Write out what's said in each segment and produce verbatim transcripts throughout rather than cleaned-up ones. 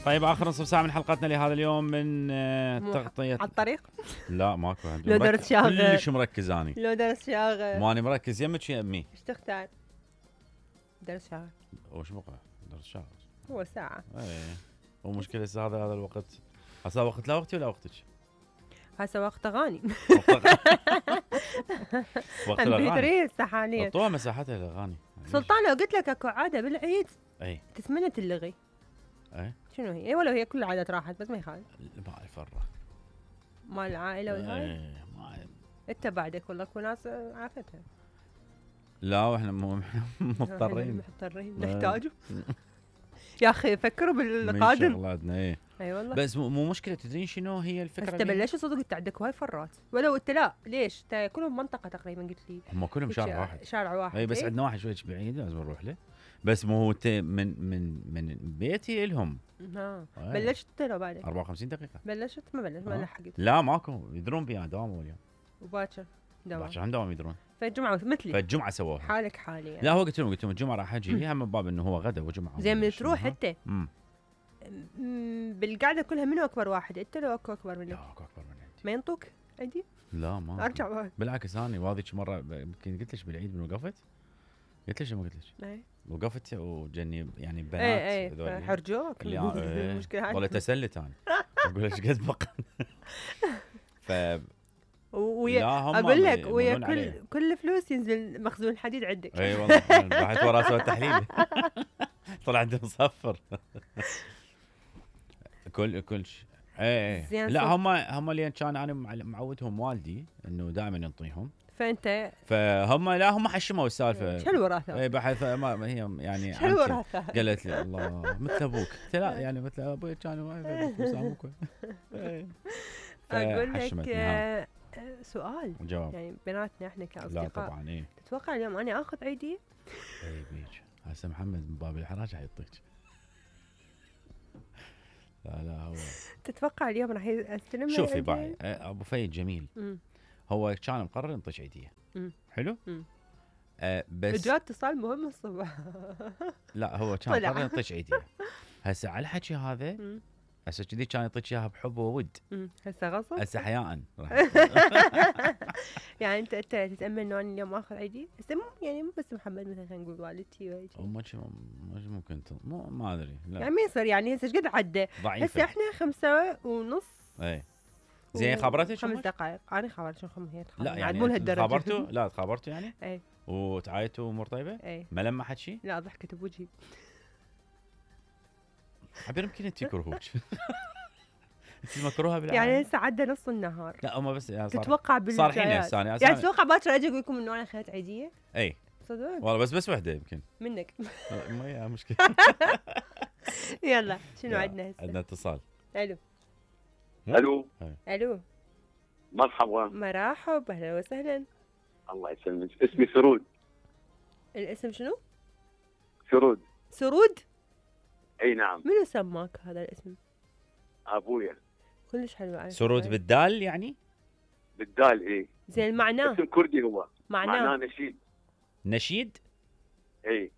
طيب اخر نصف ساعه من حلقتنا لهذا اليوم من آه، تغطيه على الطريق. لا ماكو لو درس شاغل كلش مركز اني لو درس شاغل ماني مركز يمك يا امي. ايش تختار؟ درس شاغل وش بقى درس شاغل هو ساعه. ايه هو مشكله هذا هذا الوقت هسه وقت لا وقتي ولا وقتك؟ هسه وقت اغاني. وقت الاغاني حاليا حطوها مساحتها الاغاني. سلطان لو قلت لك اكو عاده بالعيد اي تتمنى تلغي اي شنو هي؟ ولو هي كل العادات راحت بس ما يخالف ما اعرف الره مال العائله والهاي. ايه ما أعرف. انت بعدك والله اكو ناس عافتها. لا واحنا مو مضطرين مضطرين نحتاجه. يا اخي فكروا بالقادم. من شغلاتنا ايه اي والله. بس مو مشكله تدرين شنو هي الفكره؟ بس بلشوا صدق انت عندك هواي فرات ولو انت لا ليش؟ انت كلهم منطقه تقريبا قلت لي. هم كلهم شارع واحد. شارع واحد اي بس إيه؟ عندنا واحد شوي بعيد لازم نروح له. بس مو هو من من من بيتي لهم. ها آه. بلشت لو بعدك أربعة وخمسين دقيقه. بلشت ما بلشت ما آه. لحقت. لا ماكو يدرون بيها دوام اليوم. وباكر دوام. باكر هم دوام يدرون. فالجمعه مثلي. فالجمعه سووها. حالك حالي يعني. لا هو قلت لهم قلت لهم الجمعه راح اجي هم من باب انه هو غدا وجمعه. زين من تروح انت. امم بالقعده كلها منو اكبر واحد؟ انت لو اكو اكبر منك؟ لا اكو اكبر من عندي. ما ينطوك عندي؟ لا ما ارجع بعد. بالعكس انا واذيك مره يمكن قلت لك بالعيد من وقفت قلت لك ما قلت لك اي وقفت وجني يعني بنات اي اي حرجوك المشكله ولا تسلت انا اقول ايش قد بقى. ف ويا اقول لك ويا كل كل فلوس ينزل مخزون الحديد عندك. اي والله رحت ورا اسوي التحليل طلع عندي مصفر. كل كل شيء اي اي لا هم هم اللي كان انا معودهم والدي انه دائما ينطيهم. فانت فهم لا هم حشموا السالفه. شو الوراثه؟ اي بحث ما هي يعني شو الوراثه؟ قالت لي الله مثل ابوك. قلت لا يعني مثل ابوي كان ما فلوس. اقول لك سؤال جواب يعني بيناتنا احنا كاصدقاء. لا طبعا ايه تتوقع اليوم انا اخذ عيدي؟ اي بيج هسه محمد من باب الحراج حيعطيك. لا لا هو تتوقع اليوم راح استلم؟ شوفي باي ابو فيد جميل. مم. هو كان مقرر ينطيك عيديه. مم. حلو. مم. آه بس جاء اتصال مهم الصبح. لا هو كان مقرر ينطيك عيديه. هسه على الحكي هذا هسه كذي كان يعطيك اياها بحب وود. هسه غصب. هسه حياء يعني انت انت تتامل انه انا اليوم اخذ عيدي؟ هسه يعني مو بس محمد مثلا خلينا نقول والدتي وهيك. مش ممكن مو ما ادري لا يعني ما يصير يعني هسه ايش قد عدى؟ هسه احنا خمسة ونص. اي زين خبرتك خمس دقائق انا خبرت شو خم هي لا يعني مو لهالدرجه. خبرتوا لا تخابرتوا يعني؟ اي وتعايتوا امور طيبه؟ اي ما لمحت شيء؟ لا ضحكت بوجهي. عبير يمكن انت يكرهوك. انت مكروهه بالعالم يعني هسه عدى نص النهار. لا هم بس يعني صار تتوقع صار حين هسه يعني تتوقع باكر اجي اقول لكم انه انا اخذت عيديه؟ اي صدق والله بس بس وحده يمكن منك. ما هي مشكله. يلا شنو عندنا هسه؟ عندنا اتصال. الو الو الو مرحبا. مرحبا اهلا وسهلا. الله يسلمك. اسمي سرود. الاسم شنو؟ سرود. سرود؟ اي نعم. منو سماك هذا الاسم؟ ابويا. كلش حلو. سرود بالدال يعني؟ بالدال اي. زين معناه؟ اسم كردي هو. معناه معناه نشيد. نشيد؟ اي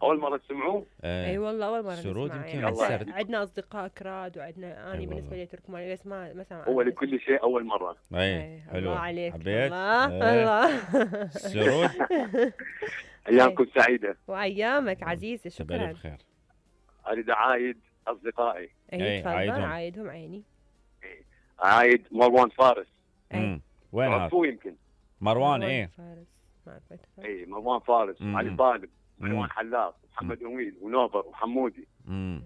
اول مره تسمعوه؟ اي أيه والله اول مره سرود نسمع. يمكن يعني عندنا اصدقاء كراد وعندنا اني بالنسبه لي تركماني بس ما ما سمع. هو لكل شيء اول مره. اي حلو. الله عليك. حبيت الله ايه. الله. سرود ايامكم سعيده. وايامك عزيزه. شكرا. بخير. اريد اعايد اصدقائي. اي تفضل عايدهم عيني. عايد مروان فارس. اي وين هذا؟ يمكن مروان ايه فارس ما عرفت. اي مروان فارس وعلي طالب ومروان حلاق ومحمد اميد ونوبر وحمودي. امم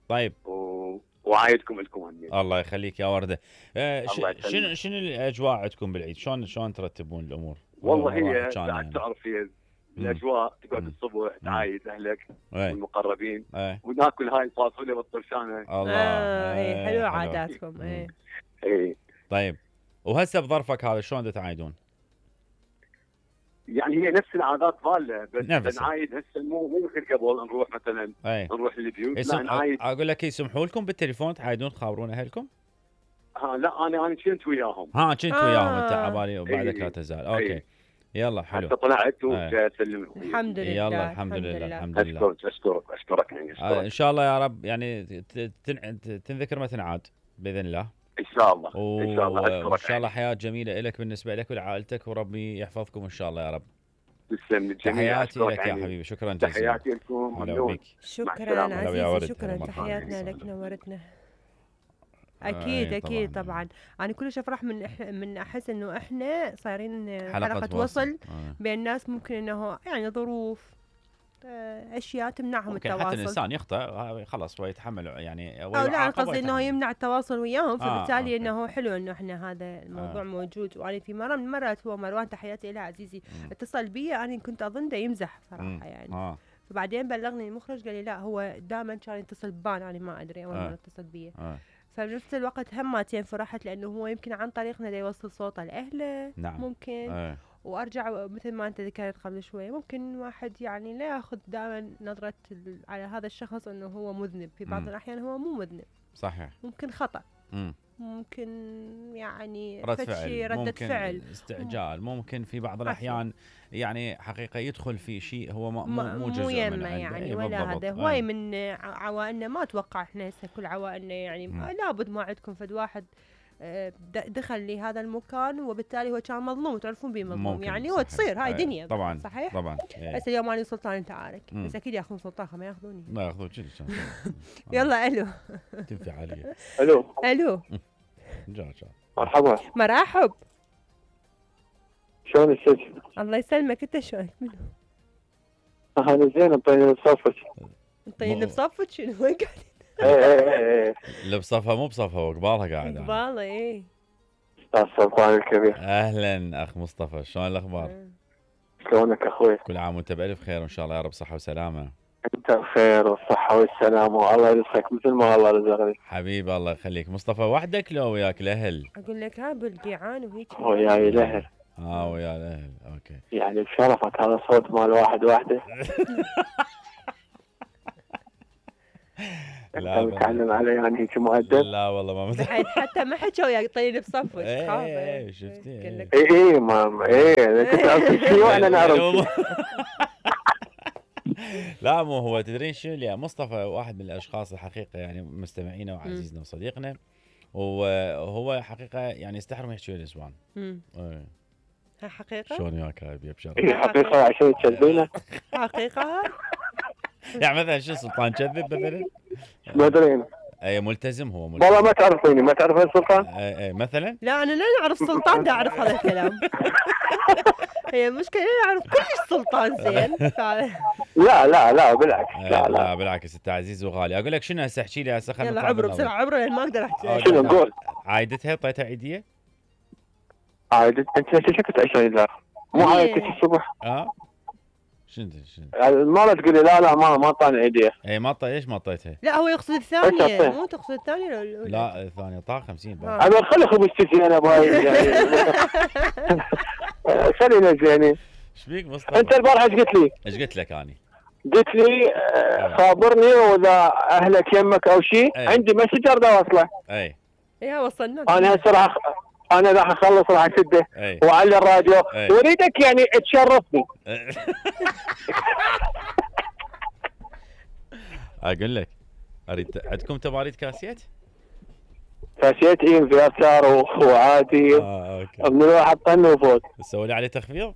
طيب و... وعايدكم لكم هني. الله يخليك يا ورده. آه ش... شنو شنو الاجواء عندكم بالعيد؟ شلون شلون ترتبون الامور؟ والله هي يعني. تعرف هي الاجواء تقعد الصبح تعايد اهلك والمقربين وناكل هاي الفاصوليا والطرشانه. الله آه اي حلوه عاداتكم. اي اي طيب وهسه بظرفك هذا شلون تعايدون؟ يعني هي نفس العادات ضاله بس نعايد هسه مو مو مثل قبل نروح مثلا أي. نروح للبيوت. لا نعايد. اقول لك يسمحوا لكم بالتليفون تعايدون تخابرون اهلكم؟ ها لا انا انا كنت وياهم. ها كنت آه. وياهم انت عبالي وبعدك لا تزال. اوكي. يلا حلو. حتى طلعت وجاي اسلم. الحمد لله. يلا الحمد لله الحمد لله. اشكرك اشكرك اشكرك يعني أشكرك. آه ان شاء الله يا رب يعني تنذكر ما تنعاد باذن الله. ان شاء الله و... ان شاء الله اشكرك. وان شاء الله حياه جميله لك بالنسبه لك ولعائلتك وربي يحفظكم ان شاء الله يا رب. تسلم تحياتي لك يا حبيبي. شكرا جزيلا. تحياتي لكم. شكرا عزيزي. شكرا. تحياتنا لك نورتنا. اكيد اكيد طبعا. انا كلش افرح من من احس انه احنا صايرين حلقه, حلقة وصل آه. بين الناس ممكن انه يعني ظروف اشياء تمنعهم التواصل. حتى الانسان يخطئ خلاص هو يتحمل يعني او لا قصدي انه يمنع التواصل وياهم فبالتالي آه. انه حلو انه احنا هذا الموضوع آه. موجود. وانا في مره من المرات هو مروان تحياتي له عزيزي م. اتصل بي انا كنت اظن ده يمزح صراحه م. يعني آه. فبعدين بلغني المخرج قال لي لا هو دائما كان يتصل بان انا ما ادري اول مره اتصل بي آه. فبنفس الوقت همتين فرحت لانه هو يمكن عن طريقنا دا يوصل صوته لاهله. نعم. ممكن آه. وارجع مثل ما انت ذكرت قبل شوي ممكن واحد يعني لا ياخذ دائما نظره على هذا الشخص انه هو مذنب. في بعض م. الاحيان هو مو مذنب. صحيح. ممكن خطا م. ممكن يعني رد فعل ردة ممكن فعل استعجال ممكن في بعض الاحيان يعني حقيقه يدخل في شيء هو مو مو جزء منه يعني ولا هذا هواي من عوائلنا ما اتوقع احنا هسه كل عوائلنا يعني م. لابد ما عندكم فد واحد دخل لهذا المكان وبالتالي هو كان مظلوم تعرفون بيه مظلوم يعني هو تصير هاي دنيا طبعا صحيح طبعا. هسه اليوم انا سلطان انت عارف بس اكيد ياخذون سلطان ما ياخذوني ما ياخذون شيء يلا الو تنفع علي. الو الو جا جا مرحبا. مرحب. شلون الشيخ؟ الله يسلمك انت شلونك منو؟ انا زين مطيني بصفك. مطيني بصفك شنو وين قاعدين؟ ايه ايه ايه اللي بصفها مو بصفها وقبالها قاعد قبالها ايه. استاذ سلطان الكبير. اهلا اخ مصطفى شلون الاخبار؟ شلونك اخوي؟ كل عام وانت بالف خير وان شاء الله يا رب صحه وسلامه. انت بخير والصحه والسلامه والله يرزقك مثل ما الله رزقني. حبيبي الله يخليك. مصطفى وحدك لو وياك الاهل؟ اقول لك ها بالقيعان وهيك. وياي الاهل. اه ويا الاهل اوكي. يعني بشرفك هذا صوت مال واحد وحده. لا انت متعلم علي يعني هيك مؤدب؟ لا والله ما متعلم. حتى ما حكوا وياك طيب بصفك. ايه شفتي. ايه ايه ما ايه انت تعرف شيء وانا نعرف. لا مو هو تدرين شو يا مصطفى واحد من الاشخاص الحقيقه يعني مستمعينا وعزيزنا وصديقنا وهو حقيقه يعني يستحرم يحكي النسوان. امم ايه ها حقيقه؟ شلون وياك هاي بشرف؟ ايه حقيقه عشان تكذبينه؟ حقيقه؟ يعني مثلا شو سلطان كذب مثلا؟ ما ادري. اي ملتزم هو ملتزم. والله ما تعرفيني ما تعرف السلطان؟ اي اي مثلا؟ لا انا لا اعرف سلطان دا اعرف هذا الكلام. هي المشكله لا اعرف كلش سلطان زين. لا لا لا بالعكس. لا لا بالعكس انت عزيز وغالي. اقول لك شنو هسه احكي لي هسه خلينا يلا عبره بسرعه عبره لان ما اقدر احكي. شنو نقول؟ عايدتها طيتها عيديه؟ عايدت انت شكلت عشان لا مو عايدتك الصبح. اه شنو شنو؟ ما تقول لي لا لا ما ما طاني ايديه. اي ما طي. ليش ما طيتها؟ لا هو يقصد الثانيه مو تقصد الثانيه ولا الاولى؟ لا الثانيه طاق خمسين. انا خلي خبزتي زينه بهاي يعني. خلينا زينه. ايش بيك مصطفى؟ انت البارحه ايش قلت لي؟ ايش قلت لك اني؟ قلت لي خابرني واذا اهلك يمك او شيء عندي مسجر دا واصله. اي اي وصلنا. انا هسه راح انا راح اخلص راح اسده واعلي الراديو واريدك يعني تشرفني. اقول لك اريد عندكم تباريد كاسيت؟ كاسيت اي انفيرتار وعادي. اه اوكي. من واحد طن وفوت. تسوي لي عليه تخفيض؟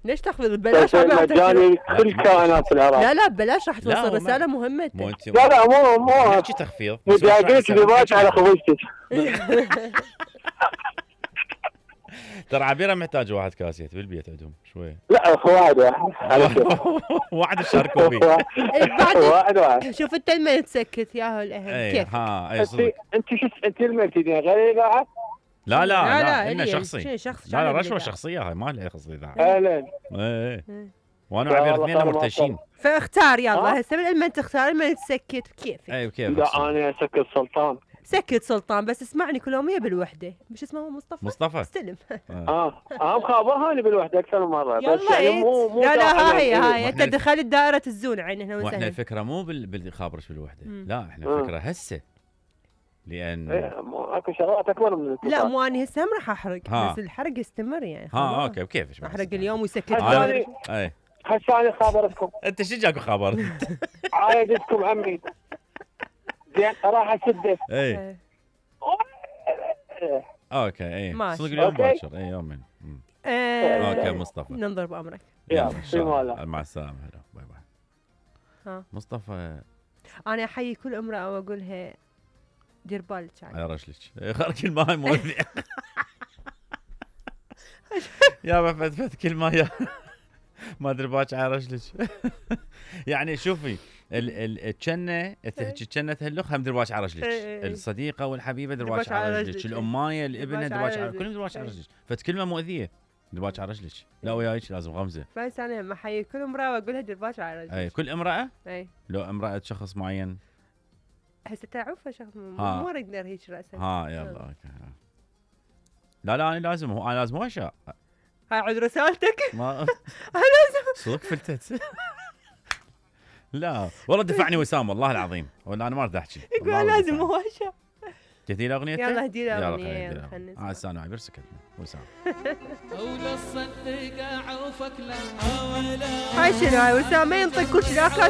ليش تخفيض ببلاش؟ مجاني كل كائنات في العراق. لا لا ببلاش راح توصل رساله مهمه. مو انت لا لا مو مو احكي تخفيض. مجاقيت بباش على خبزتك. ترى عبيره محتاج واحد كاسيت بالبيت عندهم شويه. لا واحد واحد. واحد يشاركوا فيه. واحد واحد. شوف انت لما تسكت ياهو الاهم كيف. ها اي صدق. انت شو انت لما تجي غير اذاعه؟ لا لا لا انه شخصي. شخص لا لا رشوه شخصيه هاي ما لها خص اذاعه. اهلا. ايه وانا وعبير اثنين مرتشين. فاختار يلا هسه من لما تختار لما تسكت كيف. اي كيف. لا انا اسكت سلطان. سكت سلطان بس اسمعني كل يوميه بالوحده. مش اسمه مصطفى؟ مصطفى استلم. اه اه مخابرها اني بالوحده اكثر من مره بس يعني مو مو لا لا هاي هاي انت دخلت دائره الزون عين هنا واحنا الفكره مو بالخابرش بالوحده. لا احنا الفكره هسه لان ايه اكو شغلات اكبر من الاتصال. لا مو اني هسه هم راح احرق بس الحرق يستمر يعني. ها اوكي كيفش احرق اليوم ويسكت. اي هسه انا خابرتكم. انت شو جاكو خبر؟ عايدتكم عمي زين راح اسده. اي اوكي اي صدق اليوم باكر اي يومين. اوكي مصطفى ننظر بامرك. يلا في ماله مع السلامه. هلا باي باي. ها مصطفى انا احيي كل امراه واقولها دير بالك على رجلك. خرج الماي مؤذي. يا فتفت كل ما يا ما ادري باك على رجلك. يعني شوفي الجنه الجنه تهلخ هم درباش على رجلك. الصديقه والحبيبه درباش على رجلك. الامايه الابنه درباش على كلهم درباش على رجلك. فت كلمه مؤذيه درباش على رجلك. لا وياك لازم غمزه. بس انا ما احيي كل امراه واقولها درباش على رجلك. اي كل امراه؟ اي لو امراه شخص معين هسه تعرفها شخص مو اريد نرهيك راسا. ها يلا اوكي. لا لا انا لازم انا لازم واشا. هاي عود رسالتك. ما انا لازم صدق فلتت. لا والله دفعني وسام والله العظيم ولا انا ما اريد احكي. يقول لازم واشا. تهدي له اغنيتك؟ يلا هدي له اغنيه يلا خلينا نسمع. اه استنى عبر سكتنا وسام. هاي شنو هاي وسام ما ينطق كل لا كاسه